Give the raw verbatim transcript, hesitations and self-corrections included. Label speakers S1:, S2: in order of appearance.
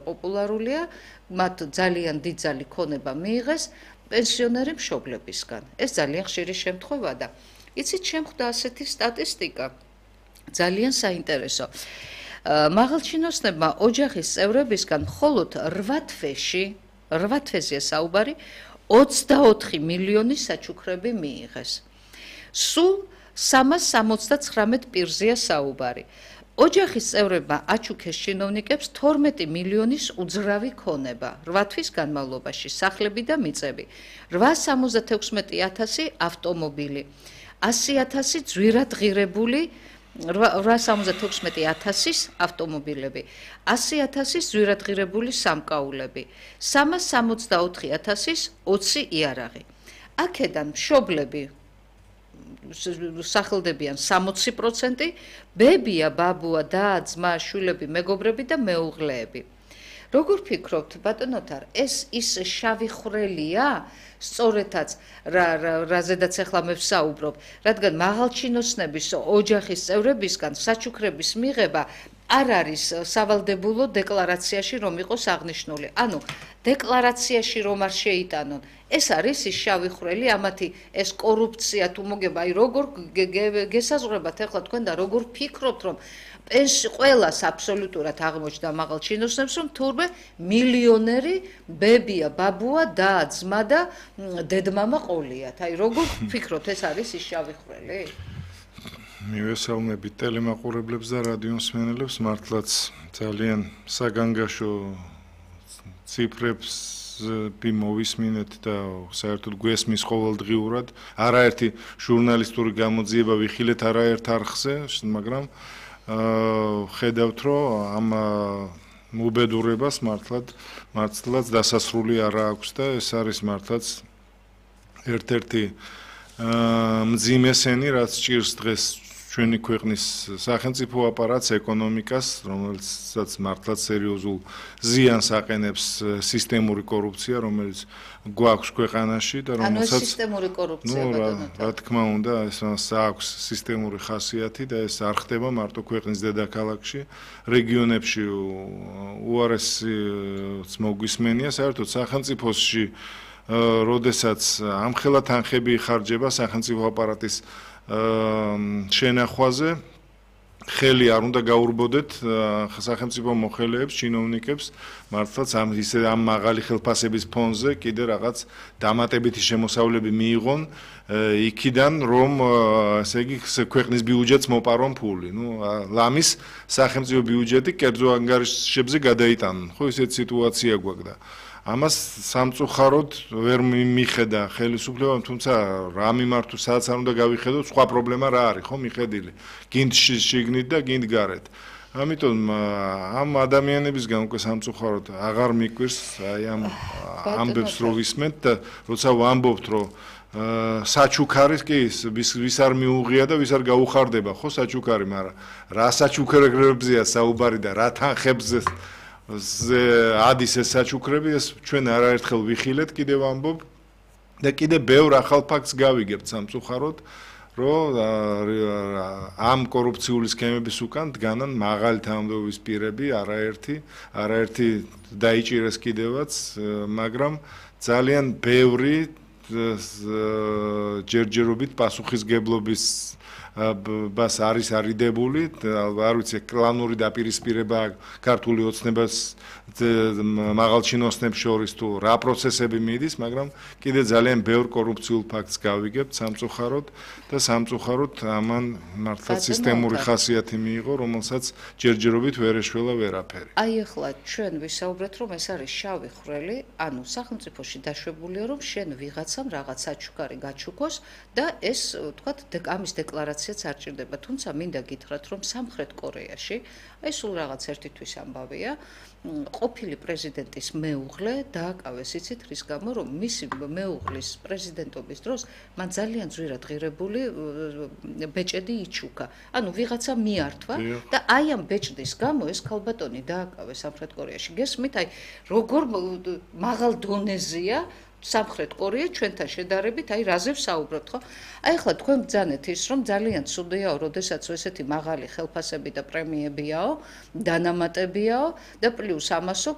S1: პოპულარულია, მათ ძალიან დიდძალი ქონება მიიღეს პენსიონერი მშობლებისგან. ეს ძალიან ხშირი შემთხვევაა და იცით, შემხვდა ასეთი სტატისტიკა, ძალიან საინტერესო. მაღალჩინოსნებმა ოჯახის წევრებისგან მხოლოდ რვა თვეში, რვა თვეზე საუბარი, ოცდაოთხი მილიონი საჩუქრები მიიღეს. სულ სამას სამოცდაცხრამეტ პირზეა საუბარი. ოჯახის წევრებმა აჩუქეს ჩინოვნიკებს თორმეტი მილიონის უძრავი ქონება, რვა თვის განმავლობაში სახლები და მიწები, რვაას სამოცდათექვსმეტი ათასი ავტომობილი, ასი ათასი ძვირად ღირებული რვაას სამოცდათექვსმეტი ათასის ავტომობილები, ასი ათასის ძვირად ღირებული სამკაულები, სამას სამოცდაოთხი ათასის ოცი იარაღი. აქედან მშობლები სახელდებიან სამოცი პროცენტი, ბებია, ბაბუა, და, ძმა, შვილები, მეგობრები და მეუღლეები. როგორ ფიქრობთ, ბატონოთარ, ეს ის შავი ხვრელია, სწორედაც რაზედაც ახლა მე ვსაუბრობ, რადგან მაღალჩინოსნების ოჯახის წევრებისგან საჩუქრების მიღება არ არის სავალდებულო დეკლარაციაში რომ იყოს აღნიშნული. ანუ დეკლარაციაში რომ არ შეიტანონ. ეს არის ის შავი ხვრელი, ამათი ეს კორუფცია თუ მოგება, აი როგორ გესაზღვრებათ ახლა თქვენ და როგორ ფიქრობთ, რომ პენსი ყველას აბსოლუტურად აღმოჩნდა მაღალჩინოსნებს, რომ თურმე მილიონერი ბებია, ბაბუა, და, ძმა და დედმამა ყოლიათ. აი როგორ ფიქრობთ, ეს არის ის შავი ხვრელი?
S2: მივესალმებით ტელემაყურებლებს და რადიომსმენელებს, მართლაც ძალიან საგანგაშო ციფრებს მოვისმინეთ და საერთოდ გვესმის ყოველდღიურად. არაერთი ჟურნალისტური გამოძიება ვიხილეთ არაერთ არხზე, მაგრამ ხედავთ, რომ ამ მობედურებას მართლად მართლაც დასასრული არ აქვს და ეს არის მართლაც ერთ-ერთი მძიმესენი, რაც ჭირს დღეს ჩვენი ქვეყნის სახელმწიფო აპარატს, ეკონომიკას, რომელსაც მართლაც სერიოზულ ზიანს აყენებს სისტემური კორუფცია, რომელიც გვაქვს ქვეყანაში და რომელსაც
S1: ანუ სისტემური კორუფცია ბატონო.
S2: რა თქმა უნდა, ეს აქვს სისტემური ხასიათი და ეს არ ხდება მარტო ქვეყნის დედაქალაქში, რეგიონებში უარესიც მოგვისმენია, საერთოდ სახელმწიფოში როდესაც ამხელა თანხები იხარჯება სახელმწიფო აპარატის შენახვაზე, ხელი არ უნდა გაურბოდეთ სახელმწიფო მოხელეებს, ჩინოვნიკებს, მართლაც ამ ისე ამ მაღალი ხელფასების ფონზე კიდე რაღაც დამატებითი შემოსავლები მიიღონ იქიდან, რომ ესე იგი ქვეყნის ბიუჯეტს მოპარონ ფული. ნუ ლამის სახელმწიფო ბიუჯეტი კერძო ანგარიშებზე გადაიტანონ. ხო, ისეთი სიტუაცია გვაქვს და ამას სამწუხაროდ ვერ მიხედა ხელისუფლებამ, თუმცა რა მიმართო, სადაც არ უნდა გავიხედოთ, სხვა პრობლემა რა არის, ხო, მიხედილი. გინდ შიგნით და გინდ გარეთ. ამიტომ ამ ადამიანებისგან უკვე სამწუხაროდ აღარ მიკვირს აი ამ ამბებს რო ვისმენთ და როცა ვამბობთ, რომ საჩუქარი კი ვის არ მიუღია და ვის არ გაუხარდება, ხო, საჩუქარი, მაგრამ რა საჩუქრებზეა საუბარი და რა თანხებზე ადის ეს საჩუქრები, ეს ჩვენ არაერთხელ ვიხილეთ, კიდევ ვამბობ და კიდე ბევრ ახალ ფაქტს გავიგებთ სამწუხაროდ, რომ ამ კორუფციული სქემების უკან დგანან მაღალი თანამდებობის პირები, არაერთი, არაერთი დაიჭირეს კიდევაც, მაგრამ ძალიან ბევრი ჯერჯერობით პასუხისგებლობის ბას არის არიდებული, არ ვიცი, კლანური დაპირისპირება ქართული ოცნებას მაღალჩინოსნებს შორის თუ რა პროცესები მიდის, მაგრამ კიდე ძალიან ბევრ კორუფციულ ფაქტს გავიგებთ სამწუხაროდ და სამწუხაროდ ამან მართლაც სისტემური ხასიათი მიიღო, რომელსაც ჯერჯერობით ვერ ეშველა ვერაფერი.
S1: აი ახლა ჩვენ ვისაუბრეთ, რომ ეს არის შავი ხვრელი, ანუ სახელმწიფოში დაშვებულია, რომ შენ ვიღაცამ რაღაც საჩუქარი გაჩუქოს და ეს თქვათ ამის დეკლარაციაც არ ჭირდება, თუმცა მინდა გითხრათ, რომ სამხრეთ კორეაში, აი სულ რაღაც ერთი თვის ამბავია, ყოფილი პრეზიდენტის მეუღლე დააკავეს, იცით რის გამო, რომ მისი მეუღლის პრეზიდენტობის დროს მან ძალიან ძვირად ღირებული ბეჭედი იჩუქა. ანუ ვიღაცა მიართვა და აი ამ ბეჭდის გამო ეს ქალბატონი დააკავეს სამხრეთ კორეაში. გესმით, აი როგორ მაღალ დონეზეა სამხრეთ კორეა ჩვენთან შედარებით, აი რაზე ვსაუბრობთ, ხო? აი ახლა თქვენ ბძანეთ ის, რომ ძალიან ცუდიაო, როდესაც ესეთი მაღალი ხელფასები და პრემიებიაო, დანამატებიაო და პლუს ამასო